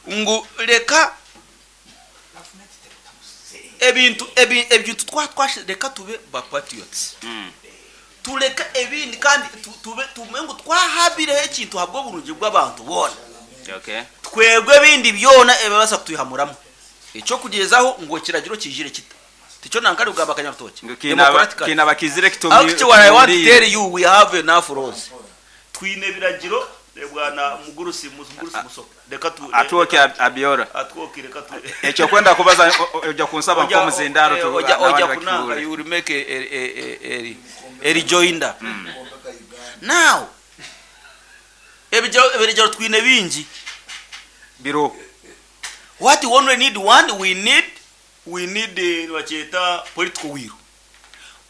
ngu leka ebintu ebintu twa twashe reka tube ba patriots, tureke ebindi kandi tube tumenye ngu twahabireho ekintu habwo burungi bw'abantu bona. Twebwe ebindi byona ebibasa kutuyihamuramu ekyo kugezaho ngo kiragiro kijire kita tikyo nankari kugamba Kanyarutoki. Ngu Democratically. kiina bakizire kitumi. Actually, what I want to tell you, we have enough laws. Twine ebiragiro eh, bwana Mugurusi Mugurusi Musoke, reka tu Atwoke Abiora. Atwoke, reka tu Ekyo kwenda kubaza ojja kunsaba nk'omuzindaaro ojja n'abandi ojja kunanga bakihuure. You will make a rejoinder. Now ebiragiro twine bingi. Biro. What we only need one, we need bakyeta political will.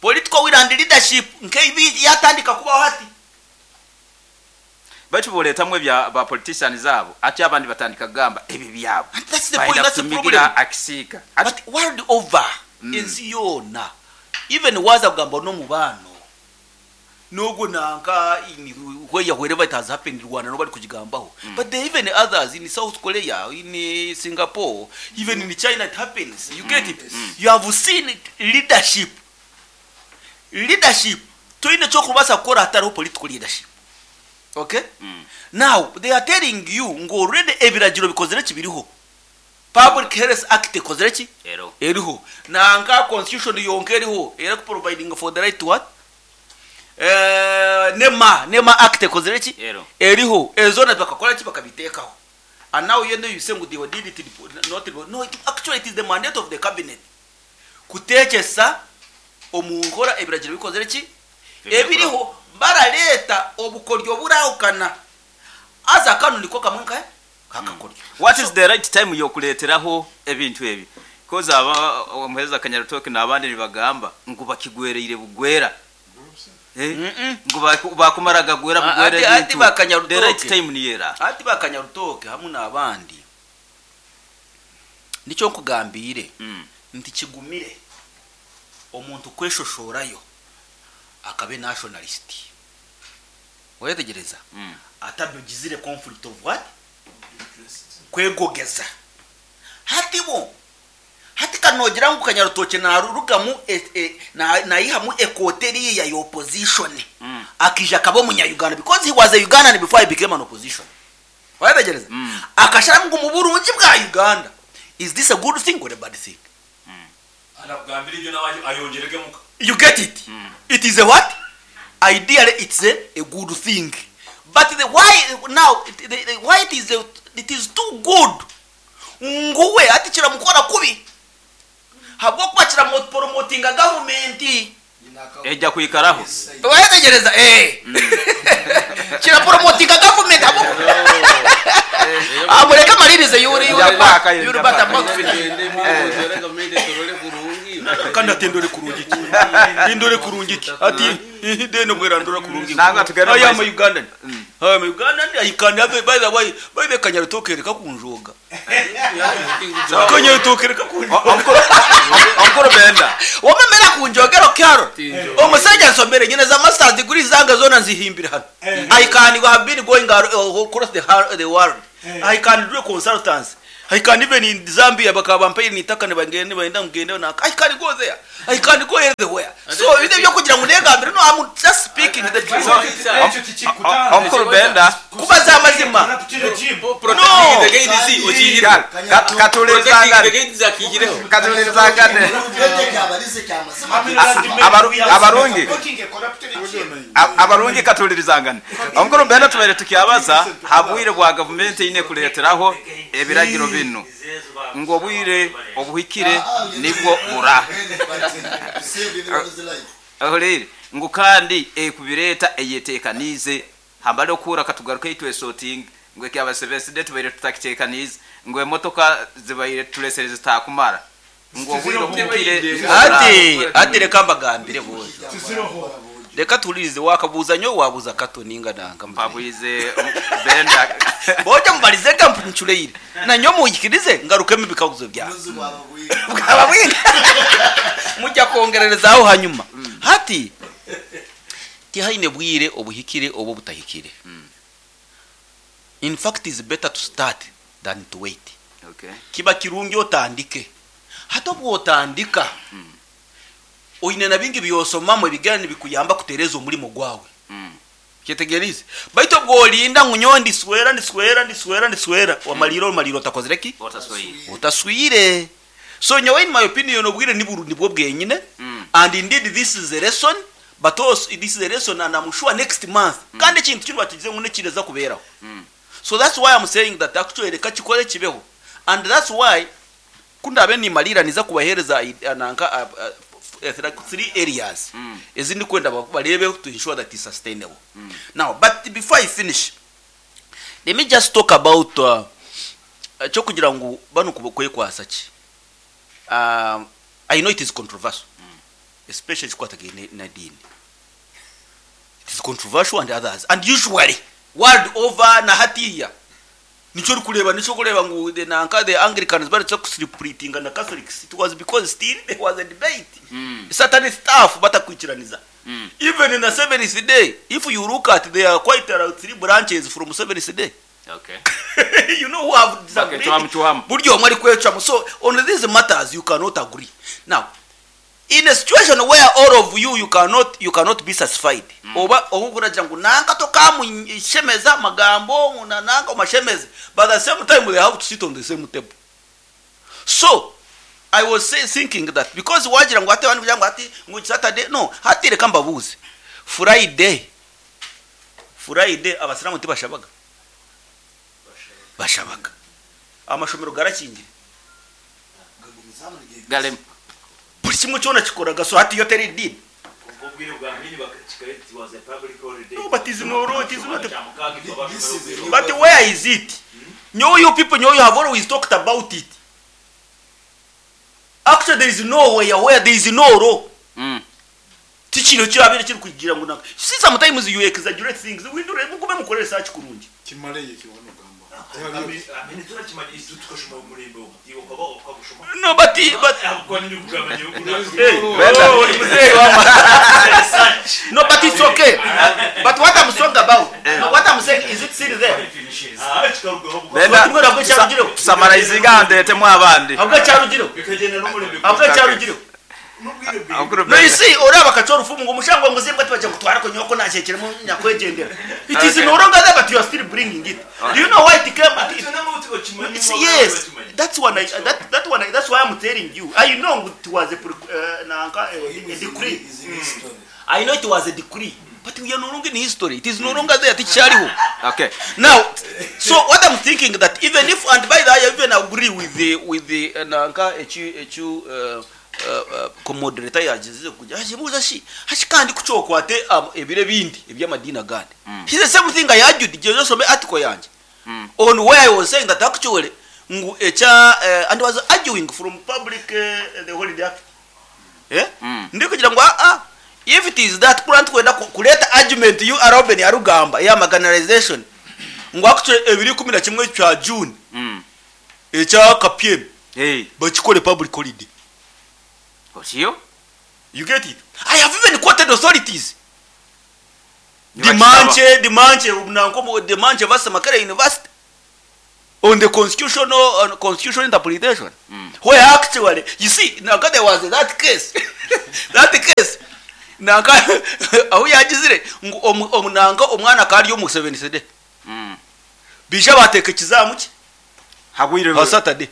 Political will and leadership nk'ebi yatandika kubaho hati. Baitu boleetamu ebya ba politicians abo ate abandi batandika kugamba ebi byabo. And that's the Baida point, that's the kutumigira problem. akisiika. But world over, ensi yoona, even waza kugamba n'omubano n'ogwo nanka where wherever it has happened in Rwanda, nobody kugigambaho, but there even others in South Korea, in Singapore, even in China it happens. You get it? You have seen it, leadership. Leadership toine kyokubasa kukora hatariho political leadership. Okay, now they are telling you ngu already ebiragiro bikozire kibiriho. Public Health Act ekozire ki? Ero. Eriho. Nanka constitution yonka eriho era providing for the right to what? NEMA Act ekozire ki? Ero. Eriho. Ezona bakakora ki? Bakabiteekaho. And now you know you say ngu they did it not, no, actually it is the mandate of the cabinet kuteekesa omu nkora ebiragiro bikozire ki? Ebiriho. Baraleeta obukoryo burahukana aza kano niko kamwe nkahe kakakoryo. What is the right time yokuleeteraho ebintu ebi? Because aba omuheereza Kanyarutoke n'abandi nibagamba ngu bakigwereire bugwera. Eh? Ngu bakumara gagwera bugwera Ati ebintu. ba Kanyarutoke. The right time niyera. Ati bakanyarutoke hamwe n'abandi nicyo nkugambire nti kigumire omuntu kweshoshorayo akabe nationalist, wetegereza, atabigizire conflict of what? Kwegogeza. Hati bo hati kanogira ngu Kanyarutoke narurugamu nayihamu ekote eriya ya opposition, akija akaba omunya-Uganda, because he was a Ugandan before he became an opposition. Wetegereza, akasharamu ngu mu burungi bwa Uganda. Is this a good thing or a bad thing? Anakugambira ibyo nawe ayongeregemo. You get it? It is a what? Ideally it's a good thing, but the why now the why it is too good nguwe ati kiramukora kubi habwokuba kiramupromotinga gavumenti. Ejja kwikaraho. Wetegereza, eh, kirapromotinga gavumenti. Amureke amalirize yuri yuri Njya kwaka, yuri njya bata kwaka. Kandi ati ndore kurungi ki, ndore kurungi ki, ati deno bwera ndora kurungi. Nanga tugende I am mu a Ugandan. I'm Ugandan, I can have a, by the way, by the kanyarutokere kakunjoga. Kanyarutokere kakunjoga. Omukuru Benda. Wamemera kunjogera kyaro. Omusajja nsomere nyine za masters degree zange zona nzihimbira hano. I can have been going across the world. I can do consultants. I can even in Zambia bakaba bampaye nitaka nibagende baenda mugende na I can go there. I can go everywhere. So ibyo byo kugira ngo negambire, no, I'm just speaking the truth. Omukuru Benda. Kubaza amazima. No. Katulirizangane. Abarungi. Abarungi katulirizangane. Omukuru Benda, tubaire tukyabaza habwire bwa gavumenti ine kuleeteraho ebiragiro bino ngo obwire obuhikire nibwo bura ahorere ngu kandi ekubireeta eyeteekaniize hambale okuhura katugaruke itwesotinga ngu ekyabasebeside tubaire tutakiteekaniize ngu emotoka zibaire tulesere zitakumara ngu obwire obuhikire nibwo bura. Ati reka mbagambire bojo. Reka tulirize wakabuza nyo wabuza kato ninga nanga. Mpabuize Benda. Bojo mubalize ga mpunchuleire. Na nyo muyikirize ngarukemo ibikaguzo bya. Bwaba bwingi. Mujya kongererezaho hanyuma. Hati tihaine bwire obuhikire obo butahikire. In fact, it's better to start than to wait. Kiba kirungi otandike. Hata bwotandika. Oine na bingi byosomamwe bigana nibikuyamba kutereza omulimo gwawe. Kyetegerize. Baito bwolinda ngu ndiswera ndiswera ndiswera ndiswera wamaliro maliro utakozere ki? Otaswire. Utaswire. So nyowe in my opinion obwire niburu nibwo bwenyine. And indeed this is a lesson, but also this is a lesson and I'm sure next month. Kandi ekintu kino batigize ngu nekireza kuberaho. So that's why I'm saying that actually reka kikore kibeho. And that's why kundabe nimalira niza kubahereza nanka three areas. Ezindi kwenda barebe to ensure that it's sustainable. Now, but before I finish, let me just talk about cyo kugira ngu bano kwekwasa ki. I know it is controversial. Especially chikwatagene na dini. It is controversial and others. And usually world over na hatiya. Nicho kureba nicho kureba ngu the nanka the Anglicans bari cyo kusplittinga na Catholics. It was because still there was a debate. Certain staff batakwikiraniza. Even in the seventh day, if you look at there are quite three branches from seventh day. You know who have disagreed. Chwamu, chwamu. Buryo omwe ari kwecwamu. So on these matters you cannot agree. Now, in a situation where all of you you cannot be satisfied. Oba okuragira ngu nanka tokamushemeza magambo na nanka omashemeze, but at the same time they have to sit on the same table. So I was thinking that because wagira ngo ate abantu ngo ati ngo Saturday, no, hati reka mbabuze Friday. Friday abasilamu tibashabaga, bashabaga amashomero garakingire. Galem. Buri kimwe cyona kikoraga. So hati yo teri dini. No, but is no, it is not a, but where is it? Know you people know you have always talked about it. Actually there is nowhere where there is no law. Tikino kirabire kiri kugira ngo naka. See, sometimes you exaggerate things. We do mugume mukore research kurungi. Kimaleye kiwano gamba. No, but hey, oh, mzee wama. No, but it's okay. But what I'm talking about, no, what I'm saying is it still there? Benda. Summarizinga ndetemu abandi. Ahubwo cyarugireho. Ahubwo cyarugireho. Omukuru No, you Benda. see, oraba kachoro fumu ngo mushango ngo zimbwa tibaje kutwara ko nyoko nashekeremo nyakwegendera. It is no longer there, but you are still bringing it. Do you know why it came? It's, yes, that's one. I, that that one. That's why I'm telling you. I know it was a nanka, a decree. I know it was a decree, but we are no longer in history. It is no longer there. Tichariho. Now, so what I'm thinking that even if, and by the way, I even agree with the nanka echu echu co-moderator yagize kujya hajibuza shi hashi kandi kucokwate ebire bindi ebyamadini agandi. He's the same thing I argued je some article yanje on where I was saying that actually ngu echa and was arguing from public the holiday act, eh, ndi kugira ngo ah ah If it is that kuri nitukwenda kureeta argument yu Reuben arikugamba eya marginalization ngu actually ebiro 11 kya June ekya KPM bakikore public holiday. Otyo? You get it? I have even quoted authorities. Dimanche, Dimanche, nanka Dimanche versus Makerere University on the constitutional, on constitutional interpretation where actually, you see, nanka there was that case, that case, nanka ahu yagizire ngu omu, omu nanka omwana akaba ari omu Seventh Day. Baija bateeka ekizaamu kye Habwire ha Saturday,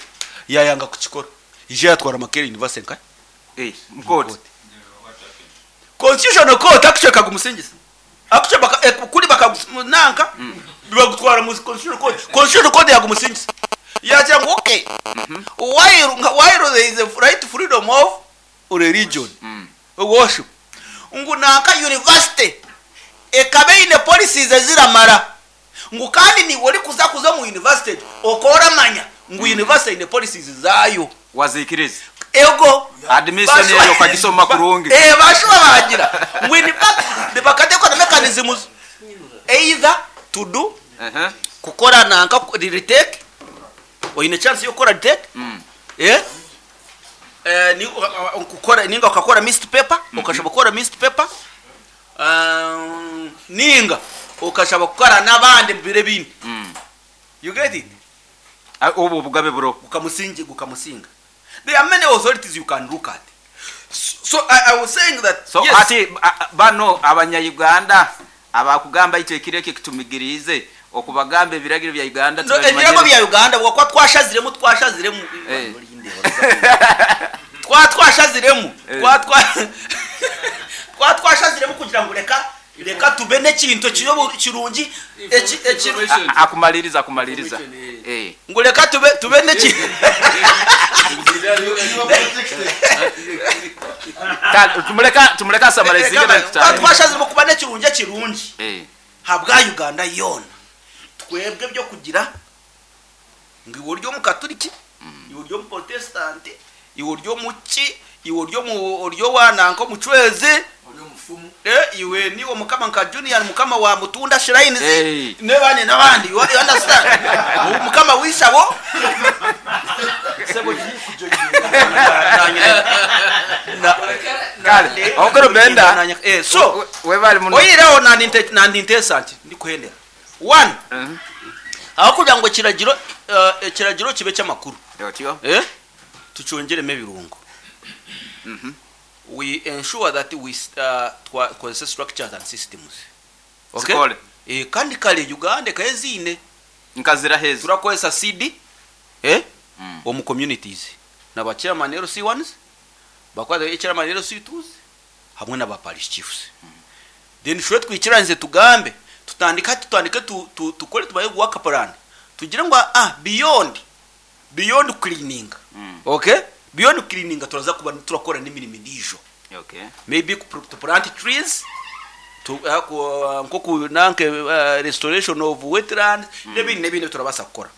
yayanga kukikora. Ija yatwara Makerere University nkahe? Mu kooti. Constitutional court actually ekagumusingiza. Actually baka, eh, kuri bakagunanka bagutwara mu constitutional court. Constitutional court yagumusingiza. Yagira ngu okay. While, while there is a right to freedom of religion, worship. Ngu nanka university ekaba eine policies eziramara. Ngu kandi niiwe orikuza kuza omu university egyo okaba oramanya ngu university eine policies zaayo. Waziikiriza. Ego. Admission Bashuba eyo okagisoma kurungi. Eh, bashuba bagira ngu in fact bakateekwa na mechanisms either to do kukora nanka retake oine chance y'okukora retake eh eh, ni, kukora ninga okakora missed paper okashaba kukora missed paper Ninga okashaba kukora n'abandi omu biro ebindi. You get it? Obwo obugabe buroho. Gukamusingi, gukamusinga. There are many authorities you can look at. So I, I was saying that So yes. hati banu abanya-Uganda abakugamba itwe ekiro eki tumigiriize okubagamba ebiragiro bya Uganda No, ebiragiro tubimanyire. bya Uganda bwakuba twashaziremu twashaziremu twa twashaziremu twa twa twa twashaziremu kugira ngu reka reka tube n'ekintu ekiri kirungi eki eki Akumaliriza akumaliriza. Eh. Ngu reka tube tube n'eki Tumureka tumureka asamarizinge twa twashaziremu kuba n'ekirungi ekirungi habwa Uganda yoona. Twebwe eby'okugira ngu iwe ori omukaturiki, iwe ori omuporotesitanti, iwe ori omuki, iwe ori omu ori owa nanka omucwezi, eh, iwe niiwe mukama nka Junior mukama wa Mutunda Shrines, n'abandi n'abandi, you you understand? Mukama w'eishabo. Kale, okoro Benda. Eh, so Webale muno. oyireho nandi nteesa nti ndikuhendera. One, ahakugira ngu ekiragiro ekiragiro kibe eky'amakuru, Otyo. eh, tukyongyeremu ebirungo. We ensure that we twakozesa structures and systems. Okay? Zikore. Eh, kandi kare Uganda ekaba eziine. Nkazira hezi. Turakozesa CD eh, omu communities na ba chairman LC1s, bakwata chairman LC2s hamwe na ba parish chiefs. Then shwe twikiranize tugambe tutandike hati tutandike tukore tubaye work plan tugire ngu ah beyond cleaning. Okay? Beyond cleaning turaza kuba turakora n'emirimo endiijo. Maybe to plant trees to nkoku nanke restoration of wetlands n'ebindi n'ebindi turabaasa kukora.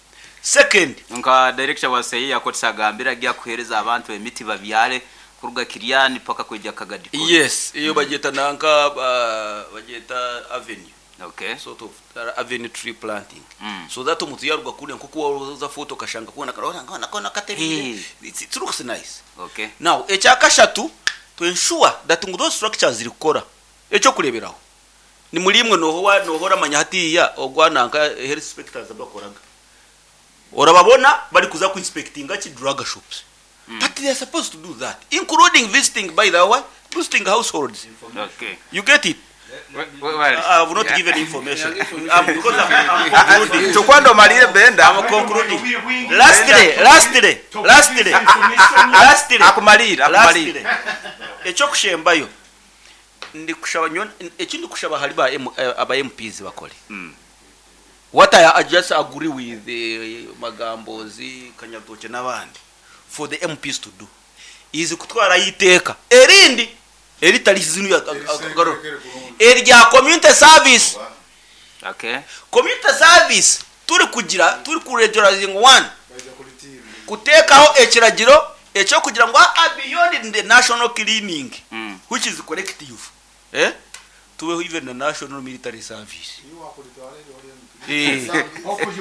Second, Nka director wa seyi yakotisa agambira agiye kuhereza abantu emiti babyare kuruga Kiriani paka kwijja Kagadi. Yes, iyo bagyeta nanka bagyeta avenue. Sort of avenue tree planting. So that omuntu yaruga kure nkoku waza photo okashanga kona kona kona katerire. It looks nice. Now, ekyakashatu to ensure that ngu those structures ziri kukora. Ekyokureberaho ni muri imwe noho noho oramanya hatiya ogwa nanka health inspectors abakoraga. Orababona bari kuza ku inspectinga ki drug shops. But they are supposed to do that, including visiting, by the way, visiting households. You get it? I have not given information. I'm, because I'm concluding. Tukwando malire Benda. I'm concluding. Lastly, lastly, lastly, lastly. Akumalire, akumalire. Lastly. Ekyokushembayo ndikushaba nyo ekindi kushaba hari ba M, aba MPs bakore. What I just agree with Magambozi, Kanyatoke n'abandi for the MPs to do is kutwara iteka erindi eritari zinu ya erya community service. Community service turi kugira turi ku regularizing one kutekaho ekiragiro ekyo kugira ngu beyond the national cleaning which is collective. Eh? Tubeho even na national military service. Eh.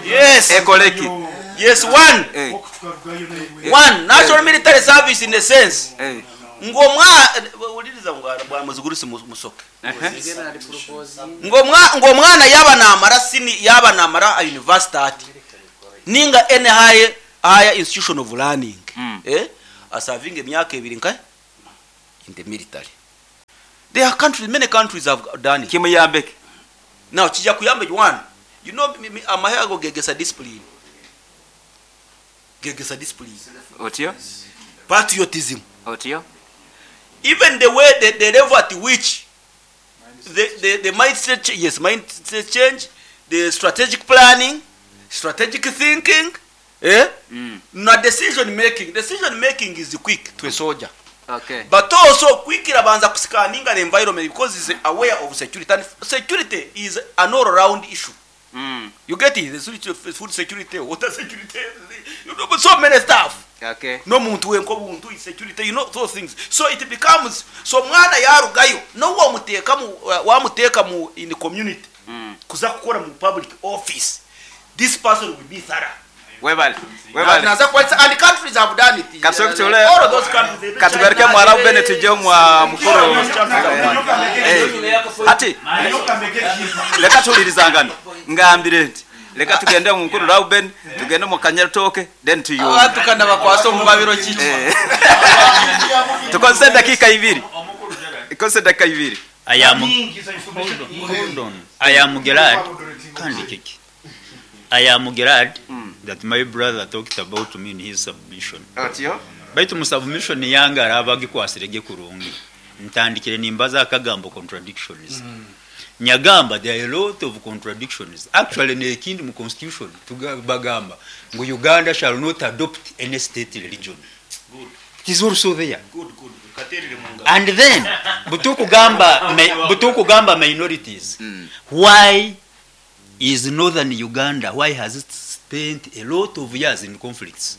Yes. Ekoleki. Yes, one. Eh. One national military service in a sense. Eh. Ngu omwa wuliriza ngu bwa muzigurusi musoke. Ngu omwa ngu omwana yaba namara sini yaba namara a university ati. Ninga any high higher institution of learning. Eh? Asavinga emyaka ebiri nka in the military. There are countries, many countries have done it. Kimuyambeke. Now kijja kuyamba one. You know amahe ago gegesa discipline. Gegesa discipline. Otyo? Patriotism. Otyo? Even the way the level at which the mindset yes, mindset change, the strategic planning, strategic thinking, eh? Na decision making. Decision making is quick to a soldier. Okay. But also quick irabanza kuscanninga the environment because is aware of security, and security is an all round issue. You get it? The security, food security, water security, you know, so many stuff. Okay. No muntu wenko buntu is security, you know those things. So it becomes so mwana yarugayo no wamuteka mu wamuteka mu in the community. Kuza kukora mu public office. This person will be thorough. Webale. Webale. Naza kwalisa, and countries have done it. Katusoke tule- All of those countries, they Katugaruke China, mwarabu they- bene tujye mwa mukuru. All those countries have done it. Eh. Ati leka tulirizangana ngambire nti leka tugende mu mukuru Rauben tugende mu Kanyaritoke then tuyumbe. Abantu kana bakwasa omu babiro kiki. Eh. Tukozese dakika ibiri. Ikozese dakika ibiri. I am hold on. I am glad. Kandi kiki. I am glad that my brother talked about me in his submission. Otyo? Baitu mu submission yange araba agikwasirege kurungi. Ntandikire nimbaza akagambo contradictions. Nyagamba there are a lot of contradictions. Actually nekindi mu constitution bagamba ngu Uganda shall not adopt any state religion. It is also there. Good, good. Katerere mu ngabo. And then butukugamba minorities. Why is northern Uganda, why has it spent a lot of years in conflicts?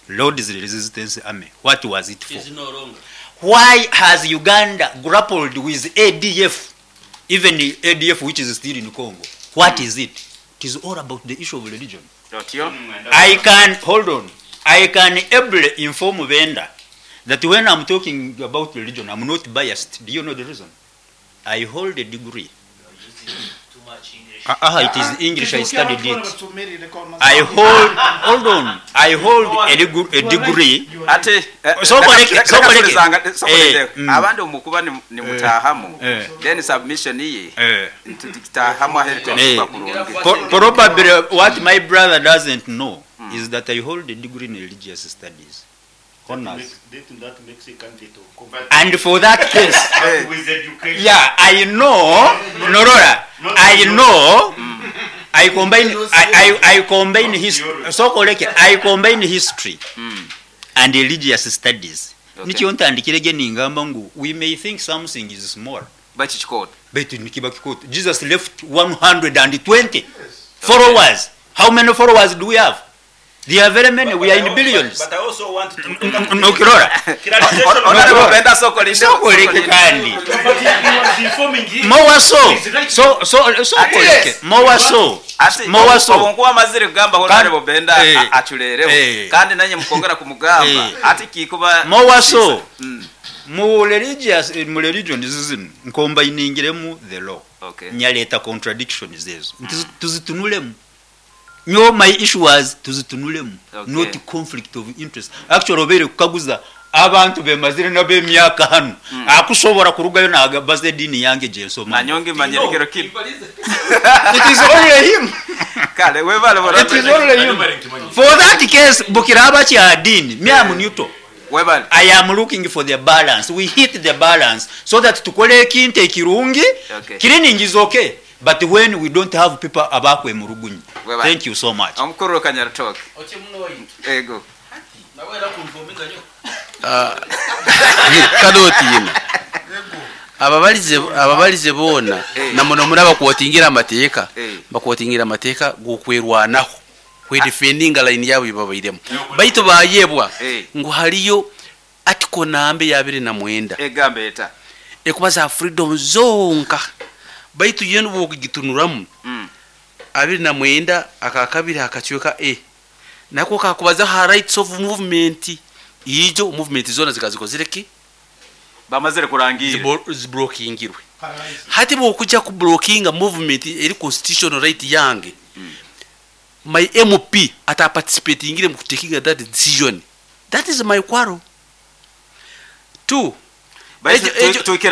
Lord's Resistance Army, what was it for? Is no longer. Why has Uganda grappled with ADF, even the ADF which is still in Congo? What is it? It is all about the issue of religion. Otyo? I can, hold on, I can ably inform Benda that when I'm talking about religion, I'm not biased. Do you know the reason? I hold a degree. It is English, I studied it. I hold, hold on, I hold a degree. Ati So koleke, so koleke. koleke. Eh, Abandi omukuba ni mutahamu. Eh. Then submission ye Eh. ntudikitahamu aherete Eh. kurungi. Probably what my brother doesn't know is that I hold a degree in religious studies. Honors. That makes a candidate of convert. And for that case, With education. yeah, I know, Norora, I know, I combine, I combine his, so koleke, I combine history and religious studies. Okay. Nikyo ntandikire ningamba ngu we may think something is small, Bakikikoto. but nikiba kikoto. Jesus left 120 followers. How many followers do we have? There are very many. We are in billions. But I also want to Nokirora. Honorable Benda Soko Sokoleke kandi. But he was informing him. More so. He's right. So so sokoleke. More so. Ati More so. obunkuba amazire kugamba Honorable Benda Eh. achulereho Eh. kandi nanye mukongera kumugamba Eh. ati kikuba More so. Mu religious mu religion zino nkombainingiremu the law. Okay. Nyaleta contradictions ezo. Nti tuzitunulemu. Nyo my issue was tuzitunulemu. Okay. Not conflict of interest. Actually obere kukaguza abantu bemazire nab'emyaka hano akusobola kurugayo nagabaza eddiini yange gyensoma. Nanyonge manyerekero kimu. It is only him. Kale webale It is only him. For that case, bukiraba kya dini, me am neutral. Webale. I am looking for the balance. We hit the balance so that tukole ekintu ekirungi. Okay. Cleaning is okay. But when we don't have people abakwe murugunyi. Webale. Thank you so much. Omukuru Kanyaritoke. Ego. Kadoti yina. Ababalize boona na muno muri abakuotingira amateeka bakuotingira amateeka gokwerwanaho kwe defending line yabo ibabairemu baitu bayebwa ngu haliyo article nambe ya 29 Egambe eta. Ekubaza ha freedom zonka baitu yo nobwokugitunuramu 29 akakabiri akacweka a nako kakubaza ha rights of movement, ijo movement zona zikazikozire ki? Bamazire kurangira. Ziblokingirwe. Hati bwokujja ku blockinga movement eri constitutional right yange, my MP ataparticipatingire mu kutakinga that decision, that is my quarrel. Two, Baitu Ekyo- twikira.